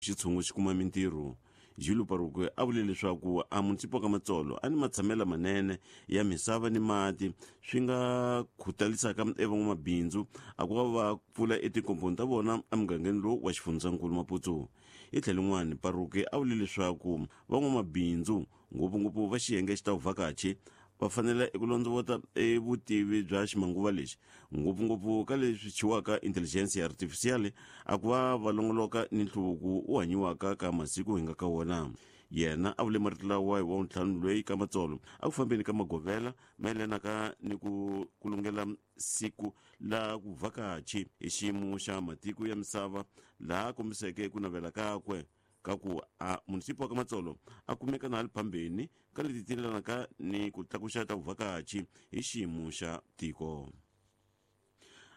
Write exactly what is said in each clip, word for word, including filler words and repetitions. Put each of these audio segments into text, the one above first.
Xitshungu xi kuma mintirho. Júlio Parruque a vule leswaku a munisipo ka Matsolo a ni matshamelo manene ya misava ni mati swi nga khutalisaka evan'wamabindzu a ku va va pfula etikomponi ta vona emugangeni lowu wa xifundzankulu Maputo. Hi tlhelo rin'wana, Parruque a vule leswaku van'wamabindzu, ngopfungopfu va xiyenge xa vuvhakachi, va fanele eku londzovota e vutivi bya ximanguva lexi, ngopfungopfu ka leswi thyiwaka intelligence artificial, a ku va va longoloka ni nhluvuko wu hanyiwaka ka masiku hi nga ka wona. Yena a vule marito lawa hi wa ntlhanu loyi ka Matsolo a ku fambeni ka magovela mayelanaka ni ku kulungela siku la ku vhakachi hi xiyimo xa matiko ya misava, laha kombiseke ku navela kakwe ka ku a munisipo wa ka Matsolo a kumeka na le phambeni ka leti tilelanaka ni ku tlakuxa ta vuvhakachi hi xiyimo xa tiko.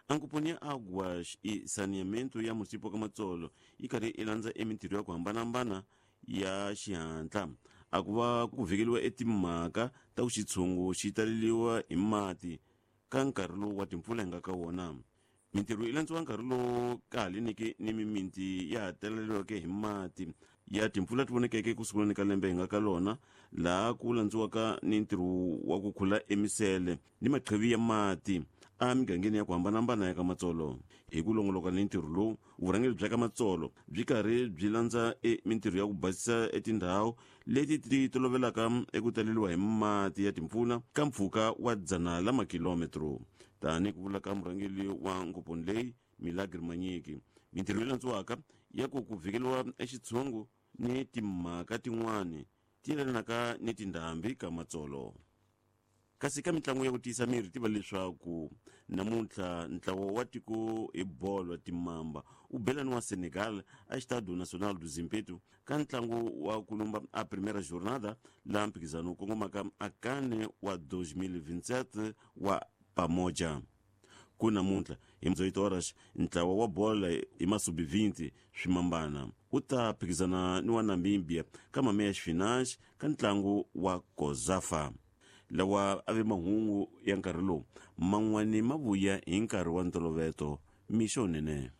Ankuponi ya Águas e Saneamento ya munisipo wa ka Matsolo yi karhi i landza emintirho ya ku hambanahambana ya xihatla a ku va ku vhikeliwa etimhaka ta ku xitshungu xi taleliwa hi mati ka nkarhi lowu wa timpfula hi nga ka wona. Mintirho yi landziwa nkarhi lowu ka ha leniki ni mimiti ya ha taleliweke hi mati ya timpfula ti vonekeke ku sunguleni ka lembe hi nga ka lona, laha ku landziwaka ni ntirho wa ku khula emisele ni maqhivi ya mati emigangeni ya ku hambanahambana ya ka Matsolo. Hi ku longoloka ni ntirho lowu, vurhangeri bya ka Matsolo byi karhi byi landza e mintirho ya ku basisa etindhawu leti ti tolovelaka eku taleliwa hi mati ya timpfula ka mpfhuka wa dzana la makilometro, tani ku vula ka murhangeri wa ngoponi leyi Milagri Manyiki. Mintirho leyi landziwaka ya ku ku vhikeliwa exitshungu ni timhaka tin'wani ti yelanaka ni tindhambi ka Matsolo. Kasi ka mitlangu ya ku tiyisa miri, tiva leswaku namuntlha ntlawa wa tiko hi bolo timamba wu belani wa Senegal a Estádio Nacional do Zimpeto ka ntlangu wa ku lumba a primeira jornada laha mphikizano wu kongomaka a kane wa twenty twenty-seven wa Pamoja. Ku namuntlha hi dezoito horas, ntlawa wa bola hi masub vinte swimambana wu ta phikizana ni wa Namibia ka meias finais ka ntlangu wa COSAFA. Lawa a ve mahungu ya nkarhi lowu, man'wani ma vuya hi nkarhi wa ntoloveto. Mixo nene.